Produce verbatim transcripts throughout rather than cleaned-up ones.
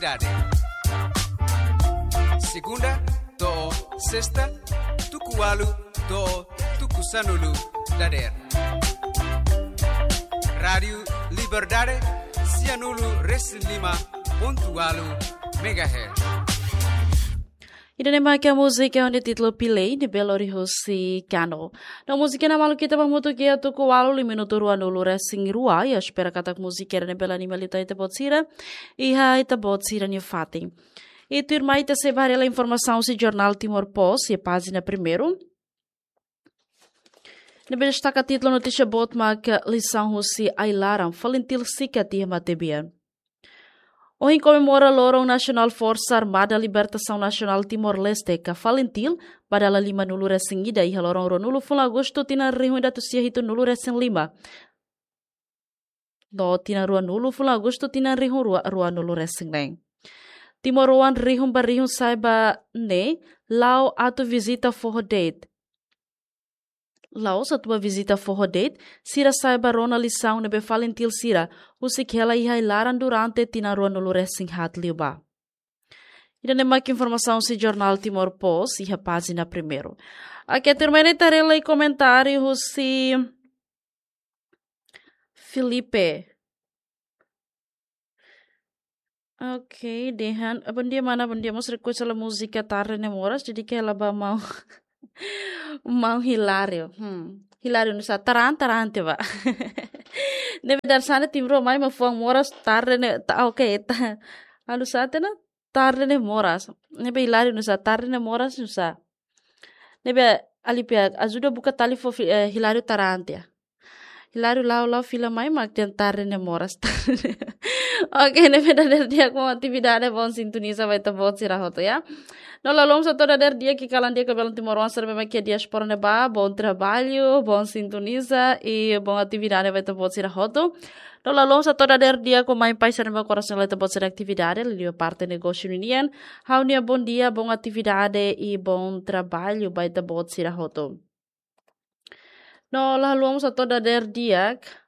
Dade. Segunda to'o sesta, tuku ualu to'o tuku sanulu dadeer. Rádiu Liberdade, sianulu resin lima pontu ualu megahertz. Ida-ne'e mak múzika ho títulu Pilei, ne'ebé lori husi Kano. No múzika ne'e malu ita ba hamutuk iha tuku ualu, minutu ruanulu resin rua, i espera katak múzika ne'e bele anima liután ita-boot sira, iha ita-boot sira-nia fatin. I tuirmai ita sei ba haree informasaun husi jornál Timor Post, iha pájina primeiru. Ne'ebé destaka títulu notísia boot mak lisaun husi ai-laran, FALINTIL sikat iha matebian. Ohin komemora loron nasionál Forsa Armada Libertasaun Nasionál Timor-Leste ka FALINTIL, ba dala limanulu resin ida iha loron ruanulu fulan Agostu tinan rihun ida atus sia hitunulu resin lima. No tinan ruanulu fulan Agostu tinan rihun rua, ruanulu resin neen. Timoroan rihun ba rihun sa'e ba ne'e, la'o atu vizita foho de'it. La'ós atu ba vizita foho de'it, sira sa'e ba rona lisaun ne'ebé FALINTIL sira husik hela iha ai-laran durante tinan ruanulu resin haat liubá. Ida-ne'e mak informasaun husi jornál Timor Post, iha pájina primeiru. Oke, tuirmai ne'e ita haree lai komentáriu husi Felipe. Oke, dehan, "Bondia, mana, bondia." Mós request hela múzika Tarde Ne'e Moras, jadi ke hela ba maun, maun Hilário. Hmm. Hilário nusá, tarán, tarán te ba. Ne'ebé dadeer-saan ne'e Timor mai mak fuan moras, tarde ne'e, ta, oke, ta. Anu sá tiha ona, Tarde Ne'e Moras. Ne'ebé Hilário nusá, Tarde Ne'e Moras nusá. Ne'ebé Alipia, ajuda buka tali fó fi-, eh, Hilário tarán tiha. Hilário la'o, la'o fila mai mak dehan Tarde Ne'e Moras. Oke, ne'ebé dadeer di'ak maun, atividade, boun sintoniza ba ita-boot sira hotu, ya. No la haluha mós hato'o dadeer di'ak iha kalan di'ak ba belun timoroan sira ne'ebé mak iha diáspora ne'ebá, bom trabalho, boun sintoniza i boun atividade ba ita-boot sira hotu. No la haluha mós hato'o dadeer di'ak ho mãe pai sira ne'ebé korasaun hela ita-boot sira-nia atividade, liuliu parte negósiu ninian. Ha'u-nia bondia, boun atividade i boun trabalho ba ita-boot sira hotu. No la haluha mós hato'o dadeer di'ak.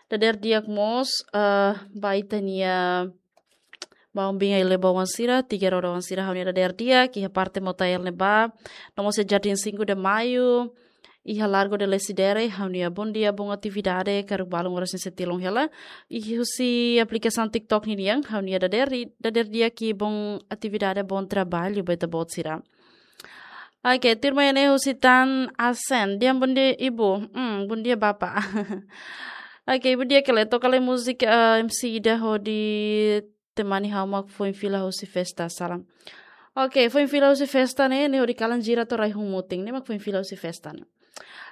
Dadeer di'ak mós, eh, ba ita-nia maun-bin ai-leba oan sira, tiga roda oan sira, ha'u-nia dadeer di'ak, iha parte Motael ne'ebá, no mós iha Jardim Cinco de Maio, iha Largo de Lecidere, ha'u-nia bondia, boun atividade, karik balun oras ne'e sei tilun hela. I husi aplikasaun TikTok ninian, ha'u-nia dadeer, dadeer di'ak i boun atividade, boun trabalho ba ita-boot sira. Oke, tuirmai ne'e husi Tan Asen. Dehan bondia ibu. Hmm, bondia bapa. Oke, bondia kele. Toka lai múzika, eh, M C ida hodi temani ha'u mak foin fila husi festa, salam. Oke, foin fila husi festa ne'e, ne'e hodi kalan jira to'o rai hun mutin. Ne'e mak foin fila husi festa ne'e.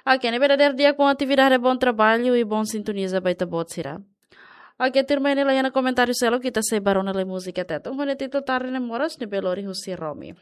Oke, ne'ebé dadeer di'ak, boun atividade, boun trabalho i boun sintoniza ba ita-boot sira. Oke, tuirmai ne'e la iha ona komentáriu seluk, ita sei ba rona lai múzika Tetun ho nia títulu Tarde Ne'e Moras, ne'ebé lori husi Romi.